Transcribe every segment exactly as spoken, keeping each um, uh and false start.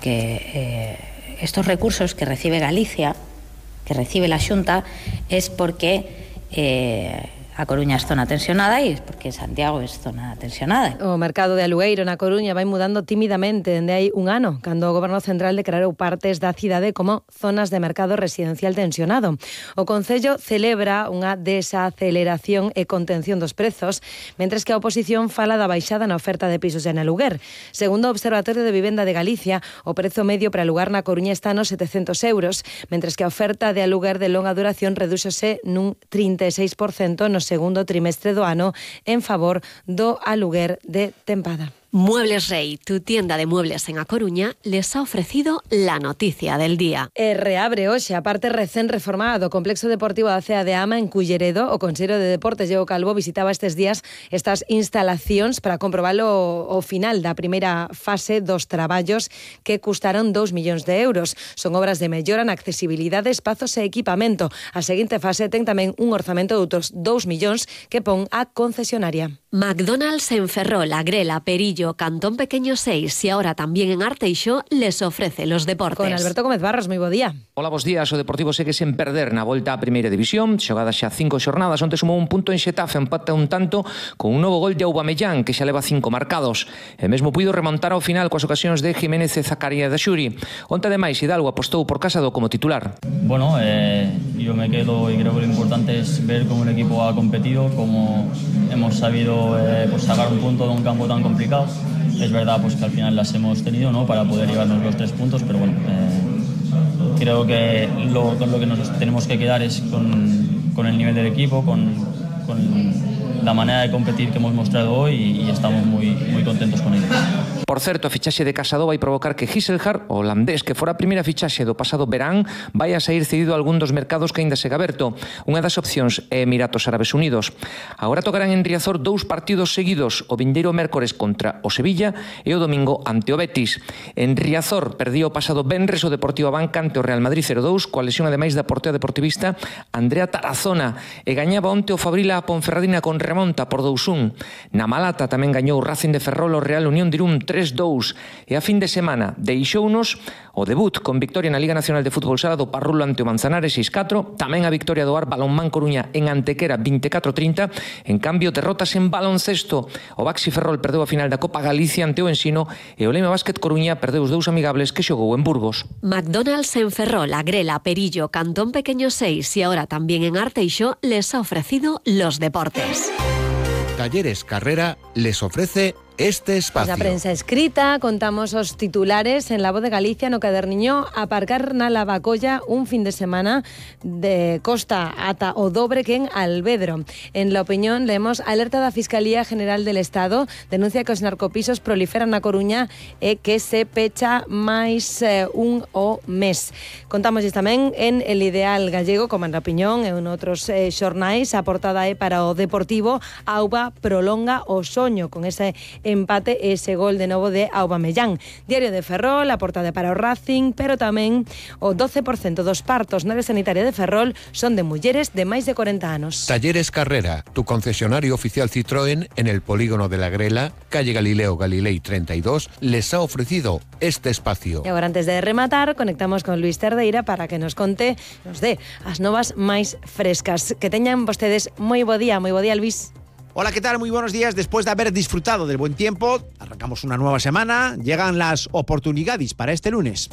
porque eh, estos recursos que recibe Galicia, que recibe la Xunta, es porque eh, a Coruña es zona tensionada e porque Santiago es zona tensionada. O mercado de alugueiro na Coruña vai mudando tímidamente dende hai un ano, cando o Goberno Central declarou partes da cidade como zonas de mercado residencial tensionado. O Concello celebra unha desaceleración e contención dos prezos, mentres que a oposición fala da baixada na oferta de pisos en aluguer. Segundo o Observatorio de Vivenda de Galicia, o prezo medio para alugar na Coruña está nos setecentos euros, mentres que a oferta de aluguer de longa duración redúxose nun trinta e seis por cento no segundo trimestre do ano en favor do aluguer de tempada. Muebles Rey, tu tienda de muebles en A Coruña, les ha ofrecido la noticia del día. E reabre hoxe a parte recén reformada do Complexo Deportivo da Cea de Ama en Culleredo. O Consello de Deportes, Diego Calvo, visitaba estes días estas instalacións para comprobalo o final da primeira fase dos traballos que custaron dous millóns de euros. Son obras de mellora na accesibilidade, espazos e equipamento. A seguinte fase ten tamén un orzamento de outros dous millóns que pon a concesionaria. McDonald's en Ferrol, Agrela, Perillo, Cantón Pequeño seis y ahora también en Arteixo les ofrece los deportes. Con Alberto Gómez Barros, moi bo día. Hola, bos días. O Deportivo segue sen perder na volta á Primeira División. Xogadas xa cinco xornadas, onte sumou un punto en Xetafe, empata un tanto con un novo gol de Aubameyang, que xa leva cinco marcados. E mesmo puido remontar ao final coas ocasións de Jiménez e Zacarías da Xuri. Onte, ademais, Hidalgo apostou por Casado como titular. Bueno, eh, yo me quedo y creo que lo importante es ver cómo el equipo ha competido, cómo hemos sabido Eh, pues sacar un punto de un campo tan complicado. Es verdad pues que al final las hemos tenido, ¿no?, para poder llevarnos los tres puntos, pero bueno, eh, creo que lo, con lo que nos tenemos que quedar es con, con el nivel del equipo, con, con la manera de competir que hemos mostrado hoy y, y estamos muy, muy contentos con ello. Por certo, a fichaxe de Casado vai provocar que Gisselhard, o holandés que fora a primeira fichaxe do pasado verán, vai a sair cedido a algún dos mercados que aínda segue aberto. Unha das opcións é Emiratos Árabes Unidos. Agora tocarán en Riazor dous partidos seguidos, o vindeiro mércores contra o Sevilla e o domingo ante o Betis. En Riazor perdía o pasado venres o Deportivo Abanca ante o Real Madrid cero dous, coa lesión ademais da portera deportivista Andrea Tarazona, e gañaba onte o Fabrila a Ponferradina con remonta por dous un. Na Malata tamén gañou o Racing de Ferrol o Real Unión de Irún tres dous, e a fin de semana deixounos o debut con victoria na Liga Nacional de Fútbol Sala do Parrulo ante o Manzanares seis catro, tamén a victoria do Ar Balonmán Coruña en Antequera veinticuatro trinta. En cambio, derrotas en baloncesto. O Baxi Ferrol perdeu a final da Copa Galicia ante o Ensino e o Lema Básquet Coruña perdeu os dous amigables que xogou en Burgos. McDonald's en Ferrol, Agrela, Perillo, Cantón Pequeño seis y ahora también en Arteixo les ha ofrecido los deportes. Talleres Carrera les ofrece este espacio. Na prensa escrita contamos os titulares en La Voz de Galicia no caderniño aparcar na Lavacolla un fin de semana de costa ata o dobre que en Alvedro. En La Opinión leemos alerta da Fiscalía General del Estado, denuncia que os narcopisos proliferan na Coruña e que se pecha máis eh, un o mes. Contamos tamén en El Ideal Gallego, como en La Opinión e en outros eh, xornais, a portada é para o Deportivo, Auba prolonga o soño con ese empate e ese gol de novo de Aubameyang. Diario de Ferrol, a portada para o Racing, pero tamén o doce por cento dos partos na área sanitaria de Ferrol son de mulleres de máis de cuarenta anos. Talleres Carrera, tu concesionario oficial Citroën en el polígono de la Grela, calle Galileo Galilei treinta y dos, les ha ofrecido este espacio. E agora, antes de rematar, conectamos con Luis Terdeira para que nos conte, nos dé as novas máis frescas. Que teñan vostedes moi bo día, moi bo día, Luis. Hola, ¿qué tal? Muy buenos días. Después de haber disfrutado del buen tiempo, arrancamos una nueva semana. Llegan las oportunidades para este lunes.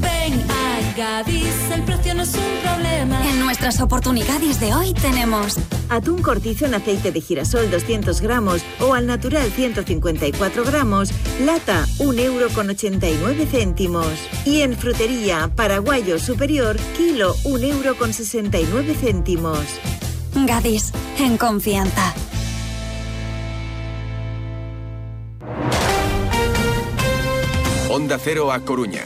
Ven a Gadis, el precio no es un problema. En nuestras oportunidades de hoy tenemos atún cortizo en aceite de girasol doscientos gramos o al natural ciento cincuenta y cuatro gramos, lata un euro con ochenta y nueve céntimos. Y en frutería, paraguayo superior, kilo un euro con sesenta y nueve céntimos. Gadis, en confianza. Onda Cero A Coruña.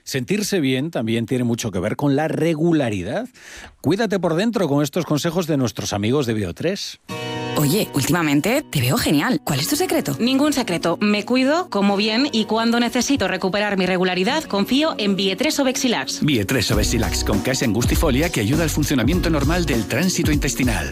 Sentirse bien también tiene mucho que ver con la regularidad. Cuídate por dentro con estos consejos de nuestros amigos de Bio tres. Oye, últimamente te veo genial. ¿Cuál es tu secreto? Ningún secreto. Me cuido, como bien y cuando necesito recuperar mi regularidad, confío en Bio tres Obexilax. Bio tres Obexilax con case angustifolia que ayuda al funcionamiento normal del tránsito intestinal.